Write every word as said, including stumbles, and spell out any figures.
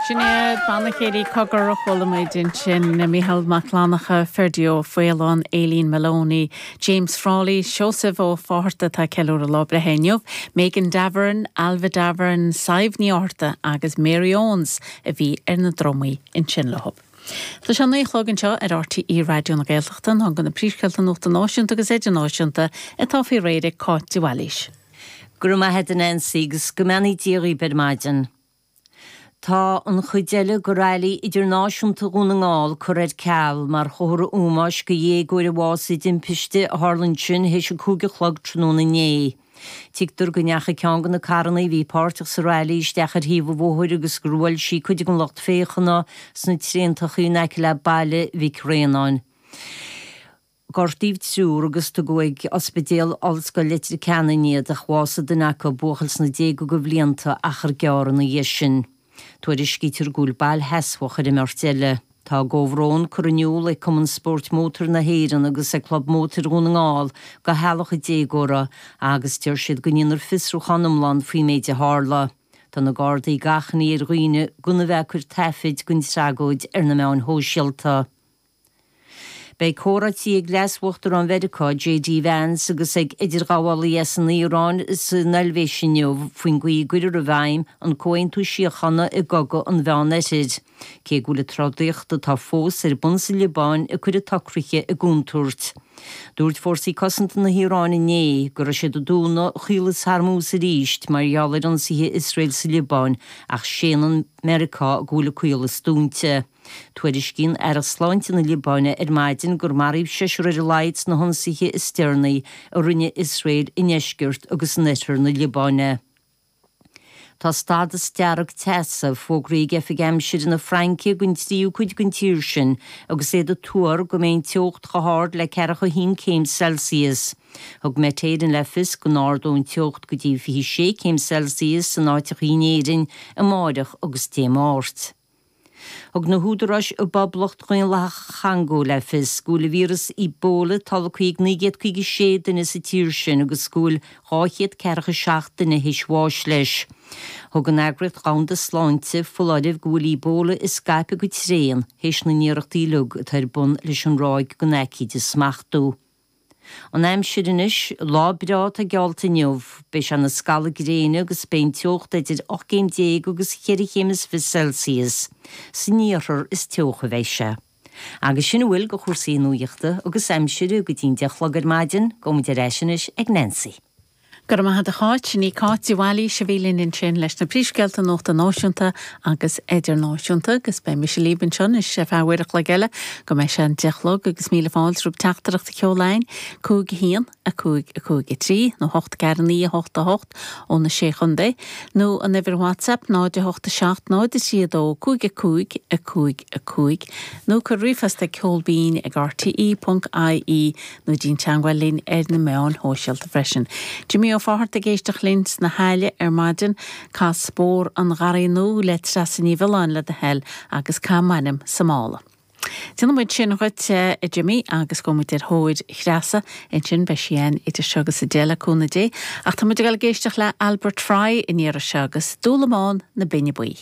Sin iad Banna Céilí Cogar a chuala muid ansin Micheál Mac Fhlannchadha, Ferdia Ó Faoláin, Aileen Maloney, James Frawley, Seosamh Ó Fátharta atá ag ceiliúradh lá breithe inniu, Megan Davern, Alva Davern, Sadhbh Ní Fhátharta agus Mary Owens a bhí ar na drumaí ansin leo. Tá sé naoi a chlog anseo ar RTÉ Raidió na Gaeltachta an go na príomhscéalta nuachta náisiúnta agus idirnáisiúnta atá faoi réir ag Cáit de Bhailís. Go raibh maith agat Nancy agus go mbeannaí Dia dhaoibh ar maidin. Tá an chuid eile de Railí Idirnáisiúnta Dhún na nGall curtha ar ceal mar chomhartha ómóis do dhéagóir a bhásaigh i dtimpiste a tharla ansin théis a cúig a chlog tráthnóna inné. Tuigtear go ndeachaigh ceann de na carranna a bhí páirteach sa railí isteach ar thaobh an bhóthair agus gur bhuail sí cuid den lucht féachana sna tréantachaí in aice le Baile Mhic Réanáin. Gortaíodh triúr agus tugadh ag Ospidéal Ollscoil Leitir Ceanainn iad ach bhásaigh duine acu buachaill sna déaga de bhlianta achar gearr ina dhiaidh sin. Tuairiscítear go bhfuil bail sheasmhach ar an mbeirt eile. Tá comhbhrón curtha in iúl ag Cumann Spóirt Mótair na hÉireann agus ag Club Mótair Dhún na nGall do theaghlach an déagóra agus deir siad go ndéanfar fiosrúchán iomlán faoin méid a tharla. Tá na Gardaí ag achainí ar dhaoine gan a bheith ag cur taifid den tragóid ar na meáin shóisialta. Beidh comhráití ag Leas-Uachtarán Mheiriceá J.D. Vance agus ag idirghabhálaí as an Iaráin san Eilvéis inniu faoin gcaoi a gcuirfear i bhfeidhm an comhaontú síochána i gcogadh an Mheánoirthir. Cé go bhfuil an trodaíocht atá fós ar bun sa Liobáin ag cur an tsocraithe i gcontúirt. Dúirt fórsaí cosanta na hIaráine inné go raibh siad ag dúnadh Chaolas Hormuz arís mar gheall ar ionsaithe Iosrael sa Liobáin ach séanann Meiriceá go bhfuil an caolas dúnta. Tuairiscíonn Aireacht Sláinte na Liobáine ar maidin gur maraíodh seisear ar a laghad sna hionsaithe is deireanaí a rinne Iosrael i ndeisceart agus in oirthear na Liobáine. Tá stádas dearg teasa fógraithe ag Oifig Aimsire na Fraince don tríú cuid den tír sin agus iad ag tuar go mbeidh an teocht chomh hard le ceathracha a haon céim Celsius. Thug Met Éireann le fios go n-ardóidh an teocht go dtí fiche sé céim Celsius in áiteacha in Éirinn amárach agus Dé Máirt. Thug na húdaráis i bPoblacht Dhaonlathach Chongó le fios go bhfuil an víreas Ebola tolgtha ag naoi gcéad caoga sé duine sa tír sin agus go bhfuil dhá chéad ceathracha seacht duine théis bháis leis. Thug an Eagraíocht Dhomhanda Sláinte foláireamh go bhfuil Ebola ag scaipeadh go tréan théis na n-iarrachtaí uilig atá ar bun leis an ráig den aicíd a smachtú. An aimsir anois, lá breá atá geallta inniu, beidh sé ina scalladh gréine agus beidh an teocht idir ocht gcéim déag agus cheithre chéim is fiche Celsius. San iarthar is teocha a bheidh sé. Agus sin a bhfuil de chúrsaí nuachta agus aimsire go dtí an deich a chlog ar maidin, gabhaimid ar ais anois ag Nancy. Go raibh maith agat a Cháit, sin í Cáit de Bhailís a bhí linn ansin leis na príomhscéalta nuachta náisiúnta agus idirnáisiúnta agus beidh mise libh anseo anois ar feadh uair a chloig eile go mbeidh sé an deich a chlog agus míle fáilte romhaibh teachtaireacht a sheoladh chugainn cúig a haon a cúig a cúig a trí nó hocht ceathair naoi a hocht a hocht ó na sé chontae nó an uimhir WhatsApp náid a hocht a seacht náid a trí a dó cúig a cúig a cúig a cúig nó cuir ríomhphost ag ceolbinn ag rte ponc ie nó déan teagmháil linn ar na meáin shóisialta freisin. Jimmy Ó Fátharta ag éisteacht linn sna hAille ar maidin, cas Spór an Gharraí Nua le Treasa Ní Mhiolláin le do thoil agus caith m'ainm sa mála. Déanfaidh muid sin dhuit a Jimmy agus gabhfaidh muid ar thóir Threasa ansin beidh sí ann idir seo agus a deich le cúnamh Dé ach tá muid ag dul ag éisteacht le Albert Fry an iarraidh seo agus Dúlamán na Binne Buí.